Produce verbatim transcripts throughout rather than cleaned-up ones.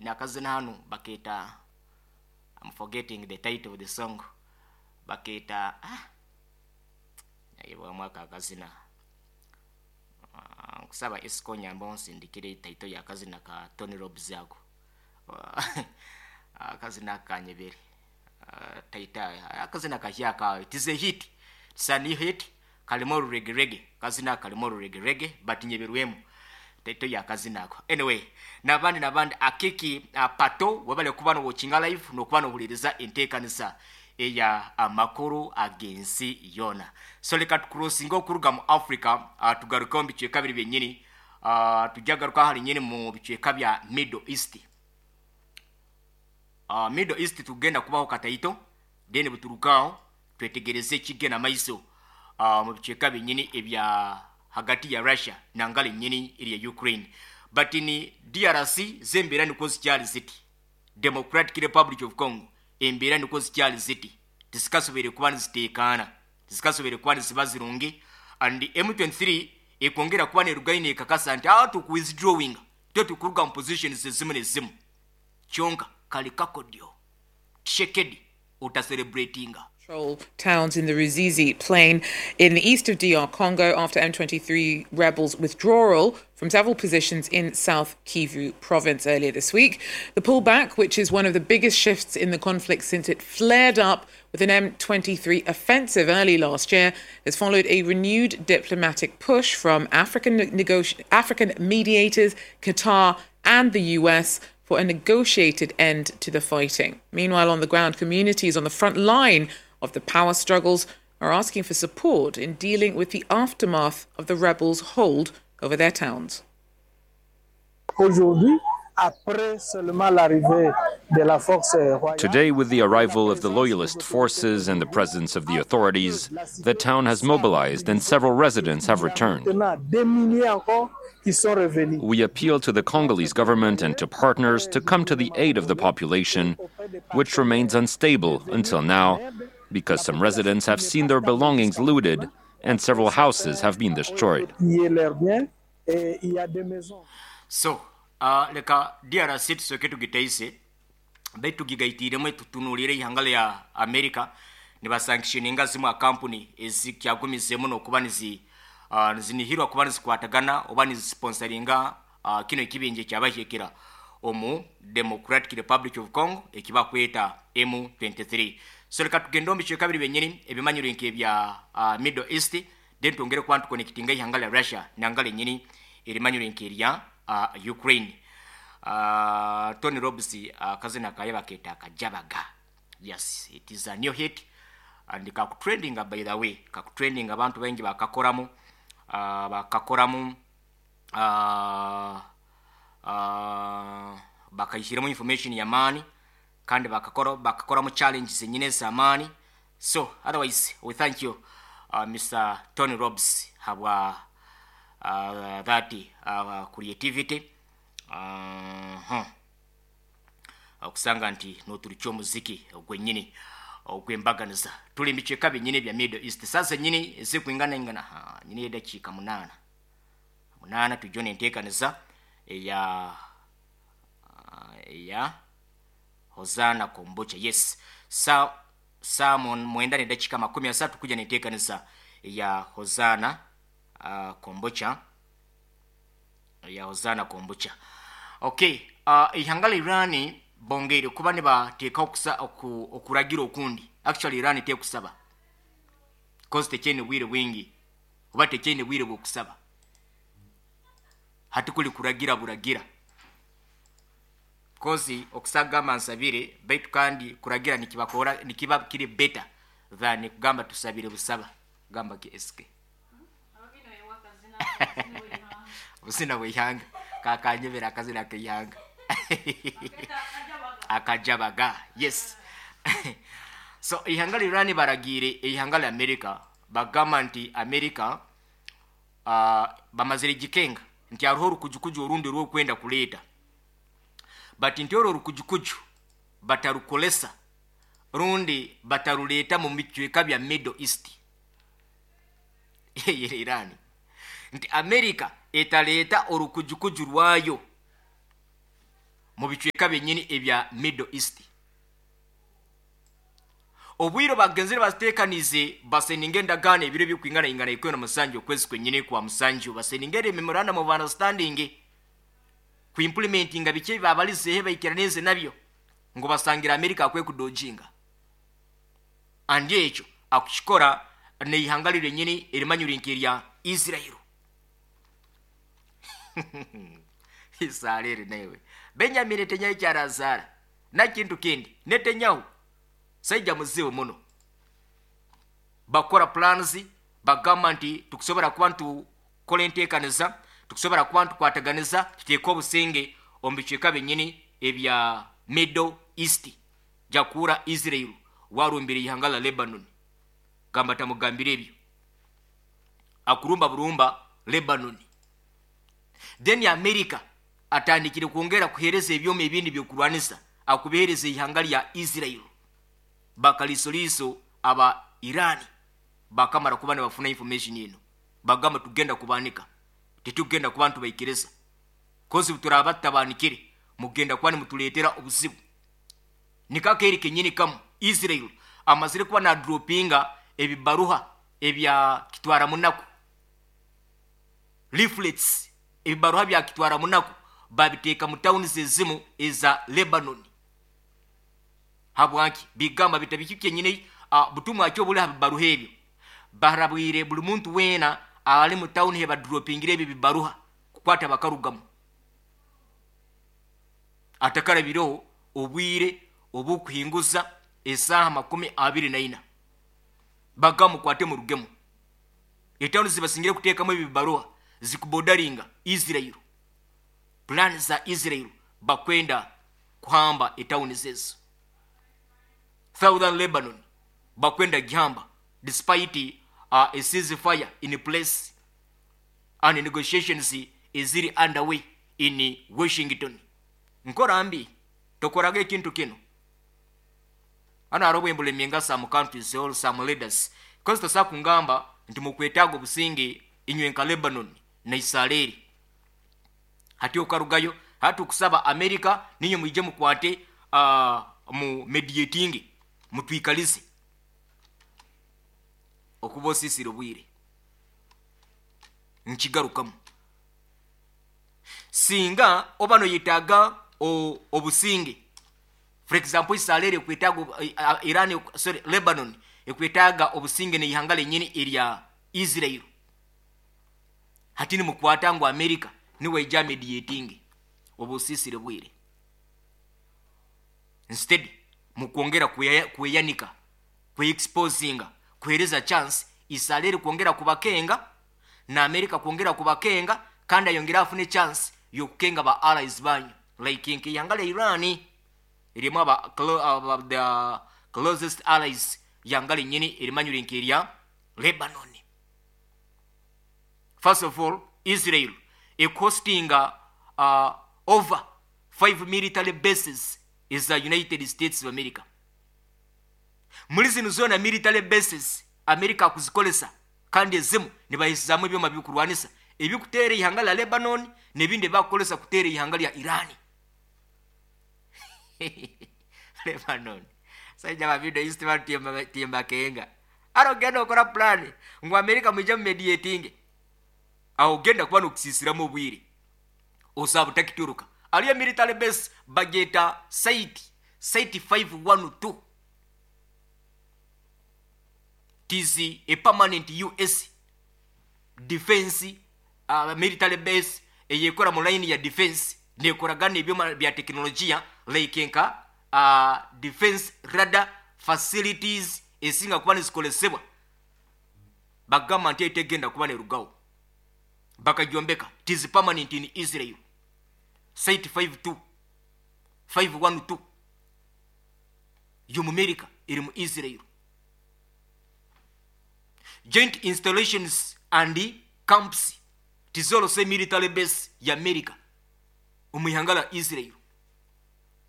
Nakazina hanu baketa, I'm forgetting the title of the song, baketa, ah, nayebwamu aka akazina. Ah, nkusaba Esco nyamba onsindikire title yakazina ka Tony Robs ako. Akazina kanyebere, uh, title akazina kahyaka. It is a hit, it's a new hit, kalimo reggae reggae, kazina kalimo reggae reggae, but nyeberwemu title yakazina ako. Anyway, nabandi nabandi akiki, uh, pato webale kuba nowatchinga live nokuba nohuliriza enteekanisa eya amakuru ag'ensi yona. So leka tucrossinga okuruga mu Africa, uh, tugaruke mu bicweka biri byenyini, uh, tujja garuka hali nyini mu bicweka bya Middle East. uh, Middle East tugenda kubaho kataito, then buturukaho twetegereze ekigenda maiso uh, mu bicweka byenyini ebya hagati ya Russia nangala enyini erya Ukraine. But ni D R C zembeera nikwo zikyali ziti, Democratic Republic of Congo embeera nikwo zikyali ziti, tizikasoboire kuba niziteekaana, tizikasoboire kuba niziba zirungi. And M twenty-three ekwongera kuba nerugaine ekakasa nti aa tukuwithdrawing, twe tukuruga mu positions ezimu nezimu. Kyonka kali kakodyo Tshisekedi utacelebratinga. Control towns in the Ruzizi Plain in the east of D R Congo after M twenty-three rebels' withdrawal from several positions in South Kivu province earlier this week. The pullback, which is one of the biggest shifts in the conflict since it flared up with an M twenty-three offensive early last year, has followed a renewed diplomatic push from African, negoti- African mediators, Qatar, and the U S for a negotiated end to the fighting. Meanwhile, on the ground, communities on the front line of the power struggles are asking for support in dealing with the aftermath of the rebels' hold over their towns. Aujourd'hui, après seulement l'arrivée de la force royale, Today, with the arrival of the loyalist forces and the presence of the authorities, the town has mobilized and several residents have returned. Maintenant des milliers encore qui sont revenus. We appeal to the Congolese government and to partners to come to the aid of the population, which remains unstable until now, because some residents have seen their belongings looted and several houses have been destroyed. Piller leurs biens et il y a des maisons. So uh, leka D R C tusooke tugiteise baitu tugigaitiiremu tutunuulire ihanga lya America nibasanctioninga zimu akampuni ezikyagumizeemu nokuba nizi uh, nizinihirwa kuba nizikwatagana oba nizisponsoringa uh, kino ekibinja ekyabahikira omu Democratic Republic of Congo ekibakweta M twenty-three. So leka tugende omu bicweka biri byenyini ebimanyirwe nk'ebya uh, Middle East, then twongere kuba ntuconnectinga ihanga lya Russia nangala enyini erimanyirwe nk'erya uh, Ukraine. uh, tony Robs, akazina uh, kaye baketa Akajabaga. Yes, it is a new hit and kakutrendinga. By the way, kakutrendinga, abantu baingi bakakoramu, uh, bakakoramu, uh, uh, bakayishyiramo information yamaani kandi bakakora bakakoramu challenges enyine ez'amaani. So otherwise, we thank you, uh, Mister Tony Robs, habwa uh, that uh, creativity. uh, huh. Okusanga nti noturukya omuziki ogwennyini ogwembaganiza. Tuli mubicweka byennyini bya Middle East sasa nyini ezikwinganaingana nyini edakiika munaana munaana tujjo nenteekaniza eya eya Hosana Kombucha. Yes, sa saa mwenda nedakiika makumi asatu kuja nenteekaniza eya Hosana uh, Kombucha, ya Hosana Kombucha. Okay, uh, ihanga la Irani bongeire kuba nibateeka okusa oku, okuragira okundi. Actually, Irani tekusaba cause tekyene bwire bwingi oba tekyene bwire bwokusaba, hati kuli kuragira buragira, cause okusagamba nsabire baitu kandi kuragira nikibakora nikiba kiri better than kugamba tusabire busaba. Gamba ki S K obusina bweihanga kakanyebera akazina keihanga Akajabaga. Yes, so ihanga lya Irani baragiire ihanga lya America, bagamba nti America, uh, bamazire gikenga nti hariho orukujukuju orundi rwokwenda kuleeta, but nti orwo orukujukuju batarukolesa rundi bataruleeta mu bicweka bya Middle East. Eyere Irani nti America etaleeta orukujukuju rwayo. Mu bicweka byenyini ebya Middle East obwire bagenzere batekanize, baseninga endagaano ebiro byokwingana ingana ikumi na musanju okwezi kwenyini kwa musanju, baseninga ere memorandum of understanding kuimplementinga biki babalizehe baikiranize nabyo, ngu basangira America akwe kudojinga andi ekyo akukikora neihanga lyenyini erimanyura nk'erya Israel. Isarere nawe Benjamin Netanyahu kyarazara na kintu kindi. Netanyahu saija muzibu muno, bakora plans, bagamba nti tukusobora kuba ntukora enteekaniza, tukusobora kuba ntukwataganiza, tuteeke obusinge omu bicweka byenyini ebya Middle East. Jakuura Israel warumbire ihanga la Lebanon, gamba tamugambire ebyo, akurumba burumba Lebanon. Then America atandikire kwongera kuhereza ebyoma ebindi byokurwanisa, akubihereza ihanga lya Israel. Bakalisoliso aba Irani bakamara kuba nibafuna information eno, bagamba tugenda kubanika, tetugenda kuba ntubaikiriza, kozi turaba tutabanikire mugenda kuba nimutuleetera obuzibu. Nikakeri kenyini kamu Israel amazire kuba nadropinga ebibaruha ebya kitwara munaku, leaflets, ebibaruha bya kitwara munaku babiteeka mu towns ezimu eza Lebanon. Habwanki bigamba bitabiki kenyini uh, butumwa kyo buli habibaruha ebyo barabwire buli muntu wena ali mu town he badropingire ebi bibaruha kukwata bakarugamu atakarabireho obwire obukuhinguza esaha makumi abiri na ina, bagamu kwate mu rugemu. Etawuni zibasingire kuteekamu ebibaruha zikubodaringa Israel, plan za Israel bakwenda kuhamba etawuni zezo. Southern Lebanon bakwenda gihamba despite uh, a ceasefire in place and negotiations eziri underway in Washington. Nkora mbi tokoraga ekintu kino ana arobwe embulemenga some countries or some leaders because tosa kungamba nti mukwetaaga obusinge inywe nka Lebanon na Israeli, hati okarugayo hati okusaba America ninyo mwije mukwate uh, mu mediating mutwikalize okuba osisire obwire. Nkigarukamu, singa oba noyetaaga obusinge, for example Israel ekwetaaga Iran, sorry Lebanon ekwetaaga obusinge neihanga lenyini erya Israel, hati nimukwata ngu America niweija mediating obusisire bwire, instead mukwongera kweyanika, kweexposinga, kuhereza chance Israel kwongera kubakenga na America kwongera kubakenga, kandi ayongera afune chance yokukenga ba allies banyu like nke yangale Iran erimu aba, aba the closest allies yangale nyini erimanyure nke Lebanon. First of all, Israel ecostinga uh, over five military bases is the United States of America. Muri zino zona military bases America akuzikolesa, kandi ezimu nibahizamu ebyoma byokurwanisa ebikuteera ihanga lya Lebanon n'ebindi bakukolesa kuteera ihanga lya Iran. Lebanon saija ba Middle East batimba timba kenga arogenda okora plan ngu America mwije mu mediating, aho genda kuba nokusisiramu obwire osaba takituruka. Aliyo military base bageta site site five one two T Z a permanent U S defense uh, military base eyekora mu line ya defense nekoragana ebyoma bya teknolojia like nka uh, defense radar facilities esinga kuba nizikolesebwa, bagamba nti etegenda kuba nerugawo bakajombeka. It is permanent in Israel site five two five one two yo mu America eri mu Israel. Joint installations and camps tizolose military base ya America omwihanga la Israel.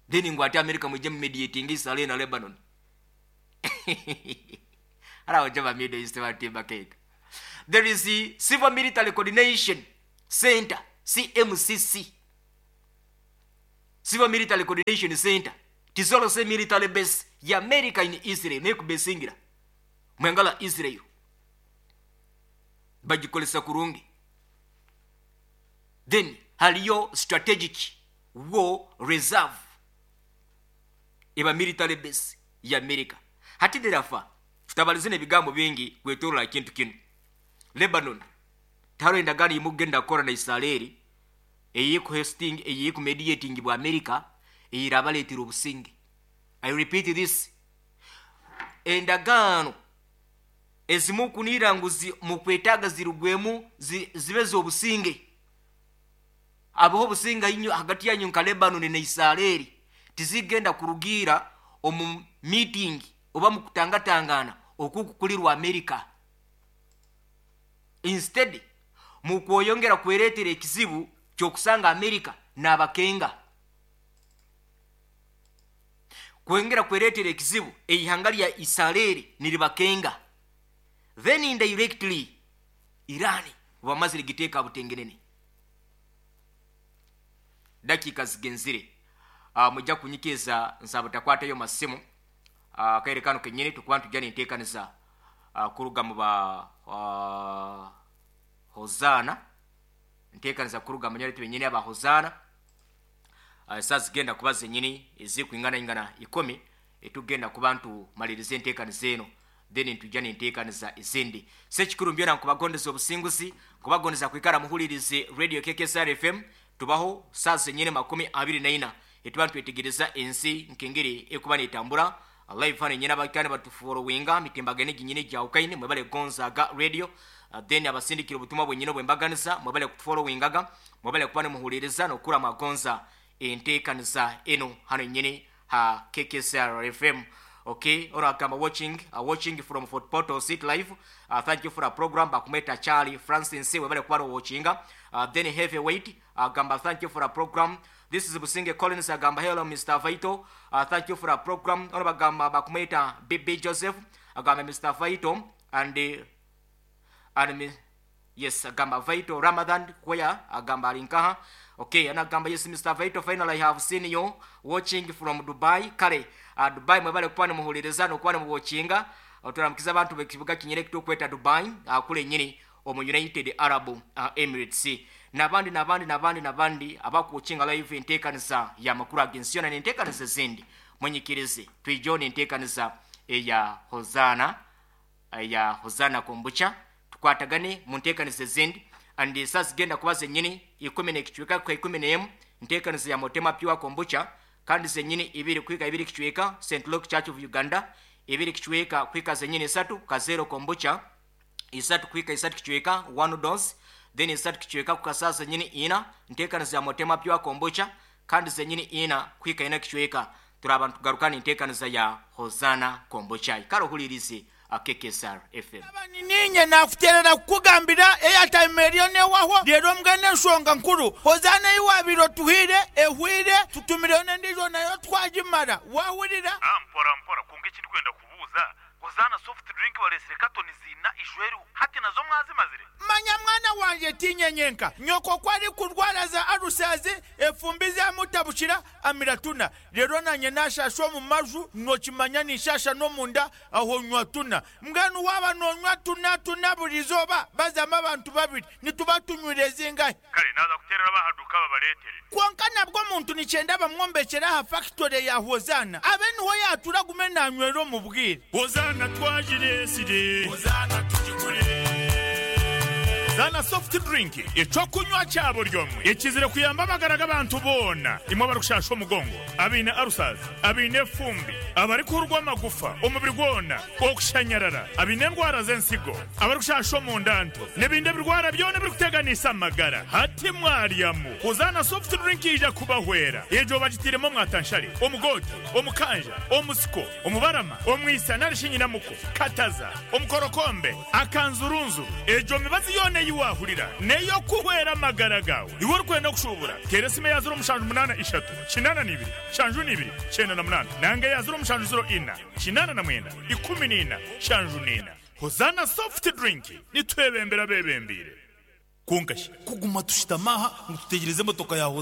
Then ngo ati America muje mediating Israel na Lebanon. Ara ojaba Middle East batimba cake. There is the Civil Military Coordination Center C M C C. Civil Military Coordination Center tizolose military base ya America in Israel nekubesingira mwengala Israel bagikolesa kurungi. Then haliyo strategic war reserve eba military base ya America. Hati derafa tutabalize ebigambo bingi kwetorola kintu kino. Lebanon taro endagano imugenda kora na Israeli eyiku hosting eyiku mediating bwa America eyirabaletera obusinge. I repeat this, endagaano ezimu kunira ngu mukwetaaga zirugwemu zi, zibe z'obusinge, abaho obusinge inyo hagati yanyu nka Lebanon ne Israeli tizigenda kurugira omu meeting oba mu kutangatangana okukukulirwa America. Instead mukwoyongera kweretera ekizibu kyokusanga America n'abakenga, kwongera kweretera ekizibu eihanga lya Israeli niribakenga. Then indirectly Iran bamazire giteeka butengenene. Dakika zigenzire uh, mujja kunyikeza nsaba takwatayo masimu uh, kaire kano kenyini tukuba tujja enteekaniza uh, kuruga mu ba uh, Hozana, nteekaniza kuruga mu nyariti benyini aba Hozana. uh, saa zigenda kuba zenyini ezikuingana ingana ikumi etugenda kuba ntumalirize enteekaniza eno, then ntujja nenteekaniza ezindi. Sekikuru mbyona nkubagondeza obusinguzi, nkubagondeza kwikara muhulirize Radio K K S R F M. Tubaho saa zenyini makumi abiri na ina etuba ntwetegereza ensi nkengeri ekuba netambura live hano nyina abakane batufollowinga mitimbagane ginyine gyawukaine mwebale gonzaga radio. Uh, then abasindikira obutumwa bwenyine bwembaganiza mwebale kutufollowingaga, mwebale kuba nemuhuliriza nokura magonza enteekaniza eno hano nyine ha K K S R F M. Okay, ora kama watching uh, watching from Fort Portal City live. Uh, thank you for the program. Bakumeta Charlie Francis webale kuba watchinga. Uh, then heavyweight uh, gamba thank you for the program. This is Businge Collins agamba hello Mister Vaito. Uh, thank you for the program. Ora bagamba bakumeta B B Joseph agamba Mister Vaito and uh, and uh, yes agamba Vaito Ramadan kwaya agamba alinkaha. Okay, anagamba yes Mister Vaito, finally I have seen you watching from Dubai. Kale uh, Dubai mwebale kuba muhuliriza nokuba muwatchinga. Oturamukiza abantu bekibuga kinyere kitokweta Dubai uh, kule nyini omu United Arab uh, Emirates. Nabandi nabandi nabandi nabandi abakuwatchinga live enteekaniza ya makuru agensi yona n'enteekaniza ezindi. Mwenyikirize twijone enteekaniza eya Hozana eya Hozana Kombucha tukwatagane mu nteekaniza ezindi. And saa zigenda kuba zenyini ikumi n'ekicweka kwa ikumi n'emu nteekaniza ya Motema Pure Kombucha, kandi zenyini ibiri kwika ibiri kicweka Saint Luke Church of Uganda, ibiri kicweka kwika zenyini isatu Kazero Kombucha, isatu kwika isatu kicweka one dose, then isatu kicweka kukasa zenyini ina nteekaniza ya Motema Pure Kombucha, kandi zenyini ina kwika ina kicweka. Turaba tugarukana enteekaniza ya Hozana Kombucha. Ikaro hulirize K K S R F M. Ninye nakuterera kukugambira airtime eriyo newaho rero mbwene enshonga nkuru Hozana iwabiro tuhire ehwire tutumireyo n'endiijo nayo twagimara wahurira. Ah, mpora mpora kunga ekindi kwenda kubuuza Hozana soft drink baresire katoni zina ishweru hati nazo mwazimazire. Manya mwana wanje tinyenyenka nyoko kwari kurwara za arusazi efumbi zamutabushira amiratuna rero nanye nashashwa mu maju nokimanya nishasha no munda aho nywa tuna mbwenu waba nonywa tuna tuna burizoba bazama abantu babiri nituba tunywire zingahe. Kale naza kuterera bahaduka babaretere konka nabwo muntu nicyenda bamwombekera ha factory ya Hozana abe niho yatura gume nanywero mu bwire. Hozana twajiresire Hozana tujigure Zana soft drink ecokunywa cyabo ryomwe ekizire kuyamba amagara abantu bona imwe barushasha omugongo abine arusaza abine fumbi abari kurwa amagufa umubiri gwona okushanyarara abine ndwara z'ensigo abari kushasha omundanto n'ebindi birwara byona biri kuteganisa amagara hati mwaryamu Hozana soft drink ija kubahwera ejo bagitiremo mwatanshari omugote omukanja omusiko omubarama omwisa narishinyinamuko kataza omukorokombe akanzurunzu ejo mibazi yone yiwahurira neyo kuhwera amagara gawe iwe urikwenda kushubura tera esime ya zero mushanju munana ishatu kinana n'ibiri shanju n'ibiri cyenda na munana nange ya zero mushanju zero ina kinana na mwenda ikumi n'ina shanju n'ina. Hozana soft drink nitwebembera bebembire kunkashi kuguma tushitamaha ngo tutegereze motoka yawe.